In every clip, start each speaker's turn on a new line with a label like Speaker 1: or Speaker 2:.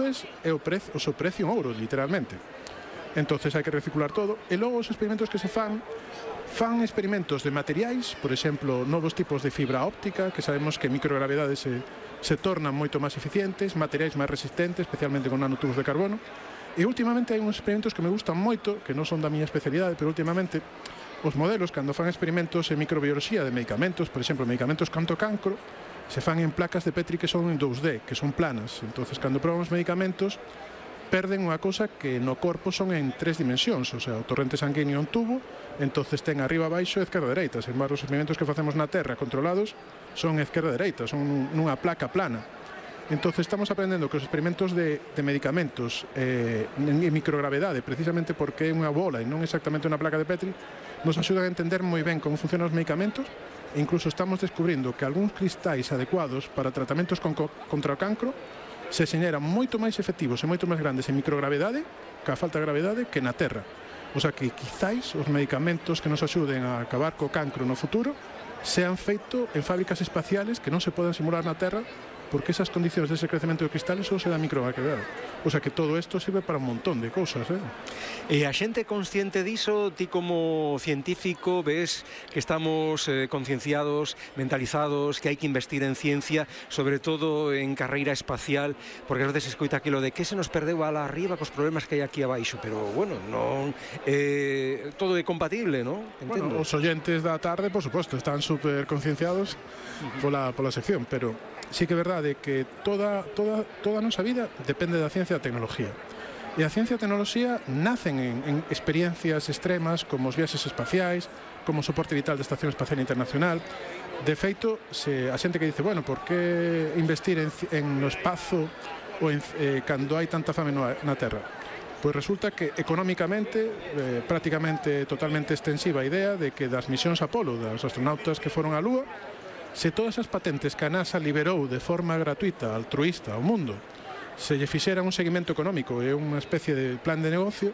Speaker 1: nubes e o seu precio en ouro, literalmente. Entonces hai que reciclar todo. E logo os experimentos que se fan experimentos de materiais, por exemplo, novos tipos de fibra óptica, que sabemos que microgravidade se tornan moito máis eficientes, materiais máis resistentes, especialmente con nanotubos de carbono. E últimamente hai uns experimentos que me gustan moito, que non son da miña especialidade, pero últimamente os modelos, cando fan experimentos en microbioloxía de medicamentos, por exemplo, medicamentos contra o cancro, se fan en placas de Petri que son en 2D, que son planas. Entonces, cando proban os medicamentos, perden unha cousa que no corpo son en 3 dimensións, o sea, o torrente sanguíneo un tubo, entonces ten arriba, abaixo e esquerda e dereita. Sen embargo, os experimentos que facemos na Terra controlados son esquerda e dereita, son nunha placa plana. Entonces estamos aprendendo que os experimentos de medicamentos en microgravidade, precisamente porque é unha bola e non exactamente unha placa de Petri, nos axudan a entender moi ben como funcionan os medicamentos e incluso estamos descubrindo que algúns cristais adecuados para tratamentos contra o cancro se xeneran moito máis efectivos e moito máis grandes en microgravidade, ca falta de gravidade, que na Terra. O sea que quizáis os medicamentos que nos axuden a acabar co cancro no futuro sean feitos en fábricas espaciales que non se poden simular na Terra porque esas condicións dese crecemento de cristales só se dá microgravidade. O sea que todo isto sirve para un montón de cousas,
Speaker 2: E a xente consciente diso, ti como científico ves que estamos concienciados, mentalizados, que hai que investir en ciencia, sobre todo en carreira espacial, porque ás veces escoita aquilo de que se nos perdeu ala arriba cos problemas que hai aquí abaixo, pero bueno, non todo é compatible, non?
Speaker 1: Bueno, os oyentes da tarde, por suposto, están super concienciados pola sección, pero sí que é verdade que toda a nosa vida depende da ciencia e da tecnología. E a ciencia e a tecnoloxía nacen en experiencias extremas como os viaxes espaciais, como o soporte vital da Estación Espacial Internacional. De feito, a xente que dice, bueno, por que investir no espazo ou cando hai tanta fame na Terra? Pois resulta que económicamente, prácticamente totalmente extensiva a idea de que das misións Apolo, dos astronautas que foron á Lúa, se todas as patentes que a NASA liberou de forma gratuita, altruista ao mundo, se lle fixeran un seguimento económico e unha especie de plan de negocio,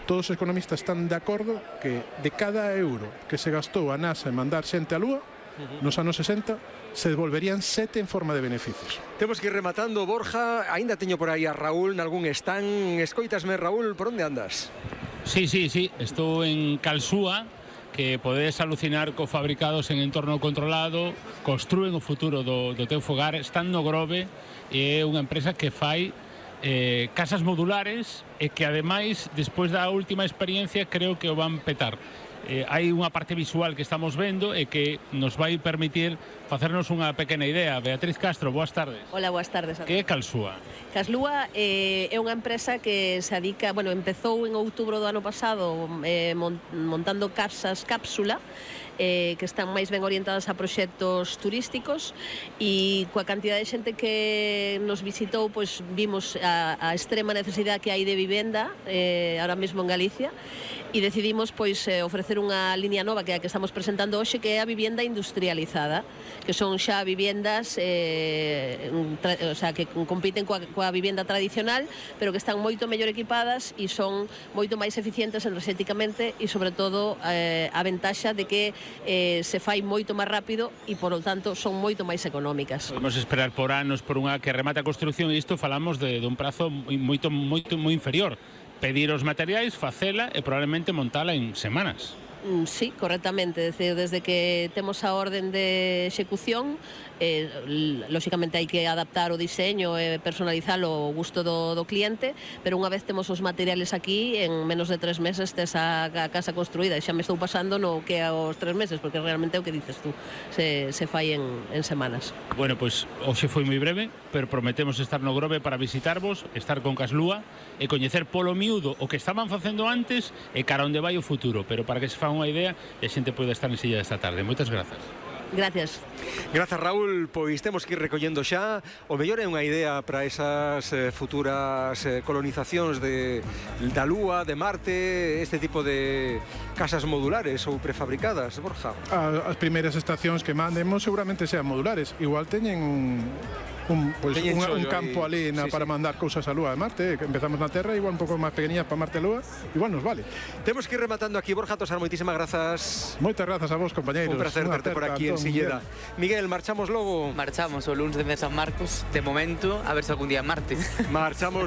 Speaker 1: todos os economistas están de acordo que de cada euro que se gastou a NASA en mandar xente á Lúa, nos anos 60, se devolverían 7 en forma de beneficios.
Speaker 2: Temos que ir rematando, Borja. Ainda teño por aí a Raúl nalgún stand. Escoitasme, Raúl, por onde andas?
Speaker 3: Sí, estou en Calsúa, que podedes alucinar co fabricados en entorno controlado, construen o futuro do teu fogar, están no Grove, e é unha empresa que fai casas modulares e que ademais, despois da última experiencia, creo que o van petar. Hai unha parte visual que estamos vendo e que nos vai permitir facernos unha pequena idea. Beatriz Castro, boas tardes.
Speaker 4: Hola, boas tardes.
Speaker 3: Que é Calsúa?
Speaker 4: Calsúa é unha empresa que se dedica, empezou en outubro do ano pasado montando casas cápsula que están máis ben orientadas a proxectos turísticos, e coa cantidad de xente que nos visitou, pois vimos a extrema necesidade que hai de vivenda ahora mesmo en Galicia, e decidimos pois ofrecer unha liña nova que é a que estamos presentando hoxe, que é a vivenda industrializada, que son xa vivendas que compiten coa vivenda tradicional, pero que están moito mellor equipadas e son moito máis eficientes enerxéticamente, e sobre todo a ventaxa de que se fai moito máis rápido e, por lo tanto, son moito máis económicas.
Speaker 3: Podemos esperar por anos por unha que remate a construción, e isto falamos de un prazo moi inferior. Pedir os materiais, facela e probablemente montala en semanas.
Speaker 4: Sí, correctamente. Desde que temos a orden de execución, lóxicamente hai que adaptar o diseño e personalizalo ao gusto do cliente, pero unha vez temos os materiales aquí, en menos de 3 meses tes a casa construída. E xa me estou pasando no que aos 3 meses, porque realmente é o que dices tú, se fai en semanas.
Speaker 3: Bueno, pois hoxe foi moi breve, pero prometemos estar no Grove para visitarvos, estar con Calsúa e coñecer polo miúdo o que estaban facendo antes e cara onde vai o futuro, pero para que se fa unha idea e a xente pode estar en silla esta tarde. Moitas grazas.
Speaker 4: Gracias.
Speaker 2: Grazas, Raúl. Pois temos que ir recollendo xa. O mellor é unha idea para esas futuras colonizacións da Lúa, de Marte, este tipo de casas modulares ou prefabricadas, Borja.
Speaker 1: As primeiras estacións que mandemos seguramente sean modulares. Igual teñen un campo ali para mandar cousas á Lúa e Marte, que empezamos na Terra, igual un pouco máis pequeniñas para Marte e Lúa, igual nos vale.
Speaker 2: Temos que ir rematando aquí, Borja Tosar, moitísimas grazas.
Speaker 1: Moitas grazas a vos, compañeiros.
Speaker 2: Un placer terte por aquí en Silleda. Miguel, marchamos logo?
Speaker 5: Marchamos o lunes de San Marcos, de momento, a ver se algún día en Marte.
Speaker 2: Marchamos